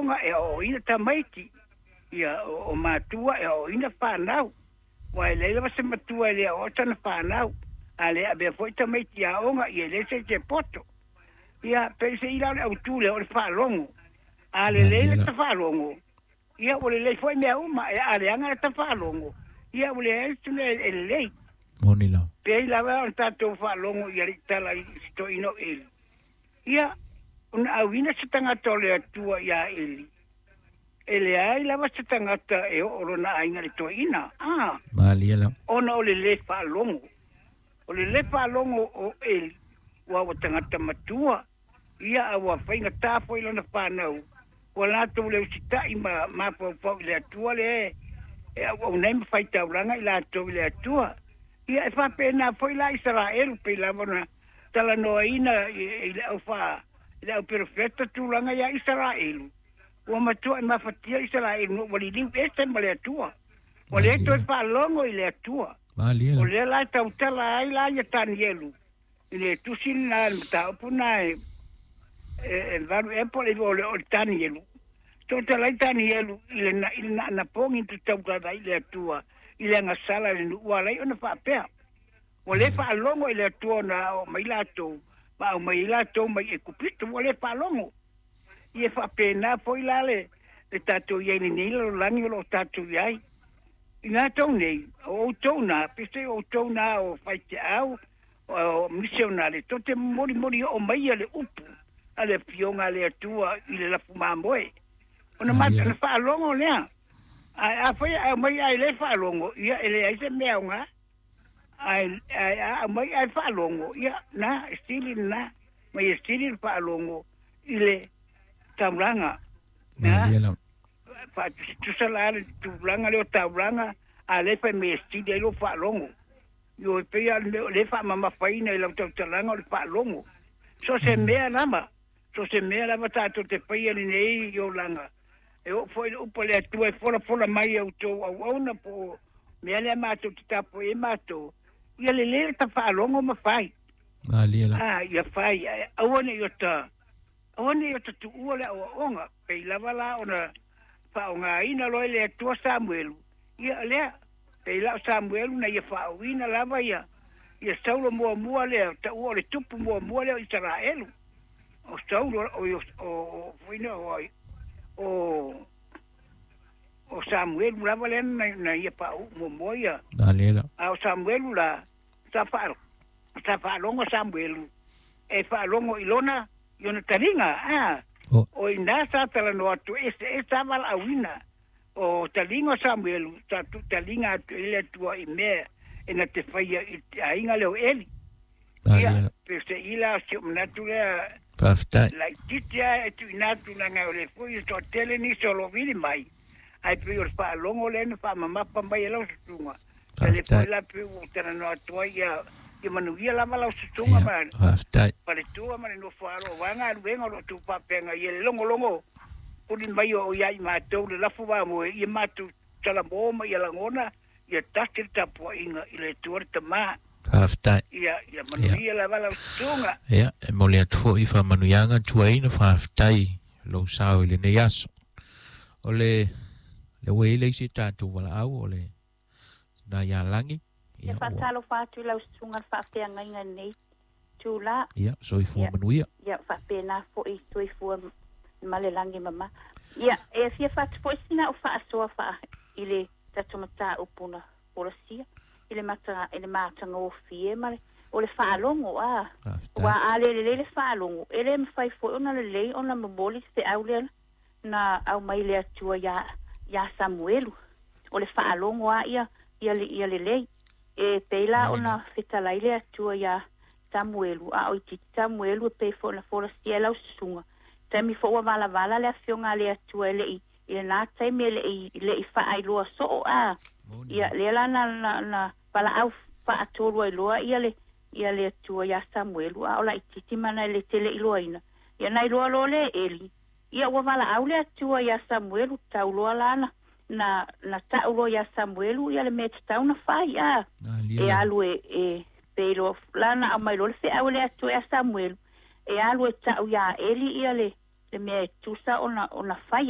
aoga e aoaoina tamaiti, ia o matua e aoaoina fanau. Aua e leai lava se matua e le aoao sana fanau, a le avea foi tamaiti i aoga, ia e leai se isi e poto. Ia, peiseai la o le autu lea o le faalogo. A lelei le tafaalogo, ia ua lelei foi mea uma, a leaga le tafaalogo, ia ua leai se mea e lelei. Moni lava. Pei lava ona tatou faalogo i alii tala i si toeaina o Eli. Ia, ona auina se tagata o le Atua ia Eli, e leai lava se tagata e oo lona aiga i le toeaina, a, Malie lava. ona o le lē faalogo. O le lē faalogo o Eli, ua ua tagata matua, ia a ua faigata foi lana fanau, ua latou le usitai ma mafaufau i le Atua lea e auauna ai ma faitaulaga i latou i le Atua. Ia e faapena foi la Isaraelu, pei lava ona talanoaina i le au faa i le au perofeta tulaga ia Isaraelu, ua matua e mafatia Isaraelu ina ua liliu ese ma le Atua, ua le toe faalogo i le Atua. Malie O lava. lea la e tautala ai la ia Tanielu i le tusi lena, le mataupu lena e 8 ea po o le 9 o le Tanielu. Tautala ai Tanielu i le i le naanapogi na tautala ai i le Atua i le agasala i le nuu, ua ala ai ona faapea, ua le faalogo i le Atua na aoo mai latou ma aumai ai latou mai Ekupito, ua le faalogo. Ia faapena foi la le tatou i ai i lenei lalolagi o lo o tatou i ai. I latou nei, o outou na, peiseai o outou na o faifeau, o misionare, tou te molimoli oo mai le upu a le Afioga a le Atua i le lafu mamoe. Ona Malie ona lava. faalogo lea. Ae afai e aumai ae le faalogo, ia e leai se mea aoga. Ae a aumai ae faalogo, ia na, e sili lena, ma ia sili le faalogo i le taulaga. Na, Malie lava. faatusatusa la le tulaga lea o taulaga, a lea e fai mai e sili ai lou faalogo. Ioe, pei lava o le mea o lea e faamamafaina i lau tautalaga o le faalogo. So se mea lava, so se mea lava tatou te faia i lenei olaga, e oo foi le upu a le Atua e folafola mai i a outou auauna po o mea lea matou te tapuai ai matou, ia lelei le tafaalogo ma fai. Malie lava. A, ia fai, ae aua ne i o ta, aua ne i o ta tuua le aoaoga, pei lava la ona faaaogaina loa e le Atua Samuelu, ia lea, pei la o Samuelu na ia faaauina lava ia ia Saulo muamua lea, taua o le tupu muamua lea o Isaraelu. O Saulo, o, o, o, o, o Samuelu lava lea na ia faauu muamua ia. Malie lava. A o Samuelu la, sa faalogo Samuelu, e faalogo i lona, i ona taliga, a, o ina sa talanoa atu, e sa valaauina. O taliga o Samuelu, sa taliga atu i le Atua i mea e na te faia i te aiga lea o Eli. Ia, peiseai la o si ou manatu lea, Faafetai. laitiiti lava e tuuina atu leaga o lea foi e toatele nisi o lo o vili mai, ae pei o le faalogo lea na faamamafa mai e lau susuga. Ia lea foi Faafetai. la pei ua ou talanoa atu ai, ia, ia manuia lava lau susuga Ia, ma faafetai. faletua ma le nofoaalo aua galuega o lo o outou faafeagai ai, le logologo puli mai o ia i matou le lafu mamoe, ia matou talamo ma ia lagona, ia tasi le tapuaiga i le Atua le Tama. Faafetai. Ia, ia Ia. manuia lava lau susuga. Ia, e momoli atu foi faamanuiaga tuaina, faafetai lou sao i lenei aso. O le le ua i ai le isi tatou valaau o le na ia lagi. E Ia, ua faatalofa atu i lau susuga le faafeagaiga i lenei itula. Ia, soifua Ia, manuia. ia faapena foi soifua ma le lagi mama. Ia, e fia faatu foi sina o faasoa faa i le tatou mataupu na folasia i le mata i le matagofie ma le o le faalogo a. Faafetai. Ua a le lelei le faalogo, e le mafai foi ona lelei ona momoli le feau lea na aumai le Atua ia ia Samuelu. O le faalogo a ia ia ia lelei. E pei la Moni ona lava. fetalai le Atua ia Samuelu, a o itiiti Samuelu e pei foi ona folasia e lau susuga. Taimi foi ua valavala le afioga a le Atua e lei i lena taimi e lei lei faailoa soo a. Moni Ia lava. lea la na na, na valaau faatolu ai loa ia le ia le Atua ia Samuelu, a o laitiiti mana e le tele iloaina. Ia na iloa loa le Eli. Ia ua valaau le Atua ia Samuelu tau loa lana na na tau loa ia Samuelu ia le mea tatau na fai a. Malie E lava. alu e e pei loa lana aumai loa le feau e le Atua ia Samuelu. E alu e tau ia Eli ia le le mea e tusa ona ona faia.